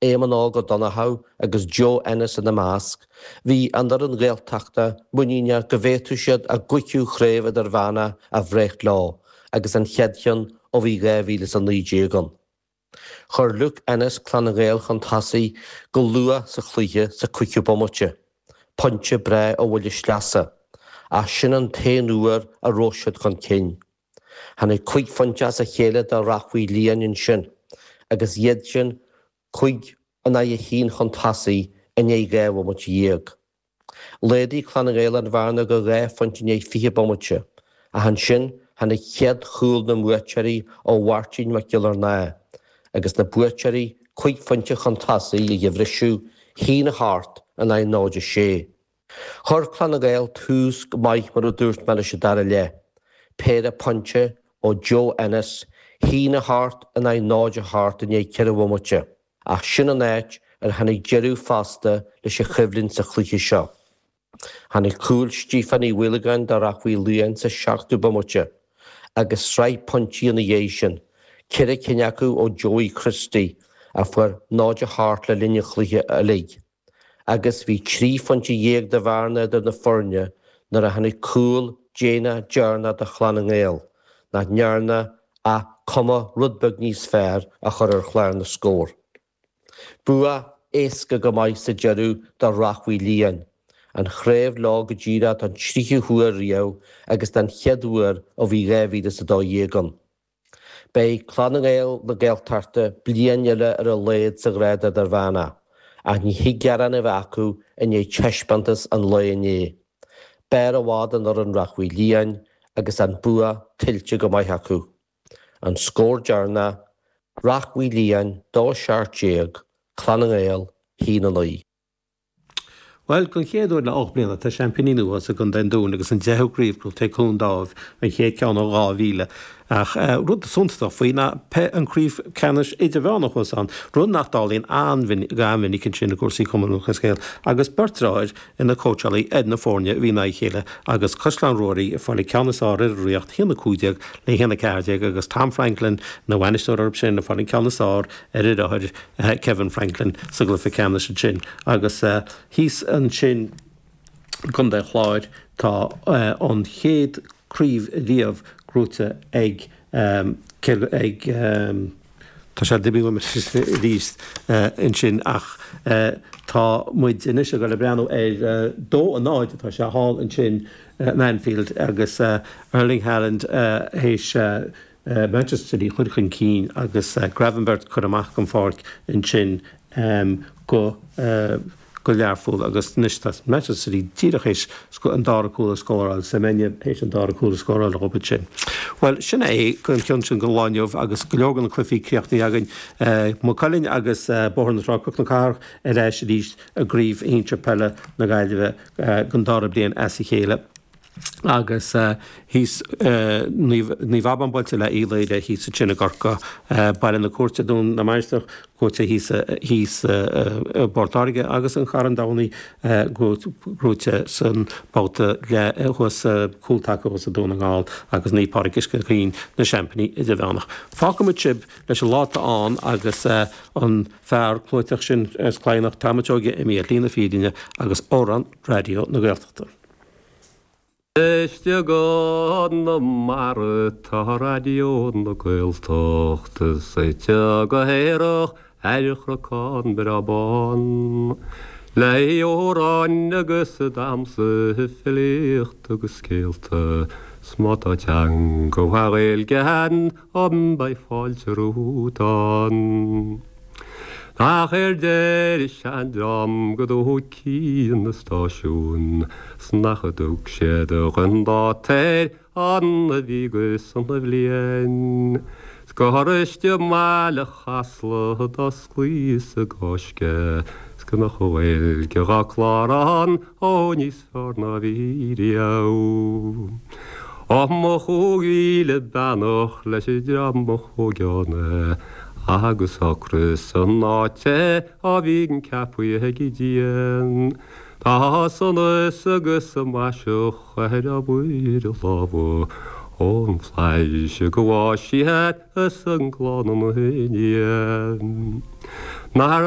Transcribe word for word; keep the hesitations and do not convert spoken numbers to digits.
Éamonn Óg Ó Donnchadha agus Joe Ennis ina measc, bhí an fhoireann Ghaeltachta muiníneach go bhféadfadh siad a gcúigiú chraobh idirmheánach a bhreith leo agus an chéad cheann ó bhí dhá mhíle is a naoi déag ann. Chuir Luke Ennis Clann na nGael chun tosaigh go luath sa chluiche sa cúigiú bomaite, pointe breá ó bhuille sleasa, ach sin an t-aon uair a raibh siad chun cinn. Tháinig cúig phointe as a chéile do Rath Mhaoil Liáin ansin agus iad sin cúig in aghaidh a haon chun tosaigh i ndiaidh dhá bhomaite dhéag. Laghdaigh Clann na nGael an bhearna go dhá phointe i ndiaidh fiche bomaite, ach ansin tháinig chéad chúl na mbuaiteoirí ó Mháirtín Mac Giollarnáth agus na buaiteoirí cúig phointe chun tosaigh ag an bhriseadh, haon a hocht in aghaidh náid a sé. Chuir Clann na nGael tús go maith mar a dúirt mé leis an dara leath, péire pointe ó Joe Ennis, haon a hocht in aghaidh náid a hocht i ndiaidh ceithre bhomaite, ach sin an áit ar tháinig deireadh fosta leis an choimhlint sa chluiche seo. Tháinig cúl Stíofán Uí Mhaolagáin do Rath Mhaoil Liáin sa seachtú bomaite, agus sraith pointí ina dhiaidh sin, ceithre cinn acu ó Joey Christie, a fuair náid a hocht le linn an chluiche uilig, agus bhí trí phointe dhéag de bhearna idir na foirne nuair a tháinig cúl déanach deireanach do Chlann na nGael, nach ndearna ach cuma rud beag níos fearr a chur ar chlár na scór. Bua éasca go maith sa deireadh do Rath Mhaoil Liáin, an chraobh leo go díreach don tríú huair riamh agus den chéad uair ó bhí dhá mhíle is a dó dhéag ann. Beidh Clann na nGael na Gaeltachta bliain eile ar a laghad sa ghrád idirmheánach, ach ní thig gearán a bheith acu i ndiaidh taispeántas an lae inné. B'fhearr i bhfad an fhoireann Rath Mhaoil Liáin agus an bua tuillte go maith acu. An scór deireanach, Rath Mhaoil Liáin dó seacht déag, Clann na nGael haon a naoi. Bhuel, don chéad uair le ocht mbliana tá seaimpíní nua sa gContae an Dúin agus an deichiú craobh gnóthaithe ag Cluain Dáimh, an chéad ceann ó dhá mhíle. Ach rud suntasach faoi ná an craobh ceannais idirmheánach thuas ann, rud nach dtarlaíonn an-mhinic ansin i gcúrsaí Chumann Lúthchleas Gael, agus beirt deartháir ina cóitseálaí ar na foirne a bhí in aghaidh a chéile agus Caisleán Ruairí ag fáil an ceann is fearr ar an Ríocht, a haon a cúig déag le haon a ceathair déag agus Tom Franklin ina bhainisteoir orthu sin ag fáil an ceann is fearr ar a dheartháir Kevin Franklin sa gcluiche ceannais ansin agus thíos ansin i gContae an Chláir tá an chéad craobh riamh gnóite ag ag tá sé imithe uaim arís ansin ach tá muid anois ag dul ag breathnú ar dó a náid atá sé thall ansin in Anfield agus Erling Haaland théis Manchester City a chur chun cinn agus Gravenberch curtha amach den pháirc ansin go go Learpholl agus anois tá Manchester City díreach théis an dara cúl a scóráil, Semenya théis an dara cúl a scóráil dhóibh ansin. Bhuel, sin é an ceann sin don lá inniu agus go leor de na cluichí críochnaithe againn. Maigh Cuilinn agus Bóthar na Trá, Cnoc na Cathrach ar ais arís i gCraobh Shinsir Peile na Gaillimhe don dara bliain as a chéile. Agus thíos Naomh Abán buailte le Uí Laoire thíos ansin i gCorcaigh, Baile na Cúirte, Dún na Mainistreach buaite thíos thíos i bPort Láirge agus an Carn Domhnaigh gnóite san babhta thuas cúltaca thuas i Dún na nGall agus Naomh Pádraig Uisce Chaoin na seaimpíní idirmheánach. Fágfaimid sibh leis an lá atá ann agus an fear clúiteach sin as Cladhnach, Tom a' tSeoighe imithe ar shlí na fírinne agus amhrán Raidió na Gaeltachta. Istigh i gConamara tá Raidió na Gaeltachta suite go haerach ar chnocán breá bán. Le hamhráin agus damhsa, filíocht agus scéalta, 's má tá teanga mhaith Ghaeilge ann beidh fáilte romhat ann. Ach ar deir seandream go dtug cian na stáisiún 's nach dtug siad dhon dáta ar an a bhí go sona bhliain 's gur istigh i mbaile Chasla d'osclaíos an gCáisc 's go mbeadh an Ghaeilge dhá clár ann ó níos fearr ná bhí riamh. Ó mo chúig mhíle beannacht leis an dream a thóg ann agus ocras san áit a bhíonn ceapaithe ag Dia. Tá sonas agus maiseach ar obair a lámha ón bhflaitheas go bhfáis siad is an gclann ina ndiaidh. Nár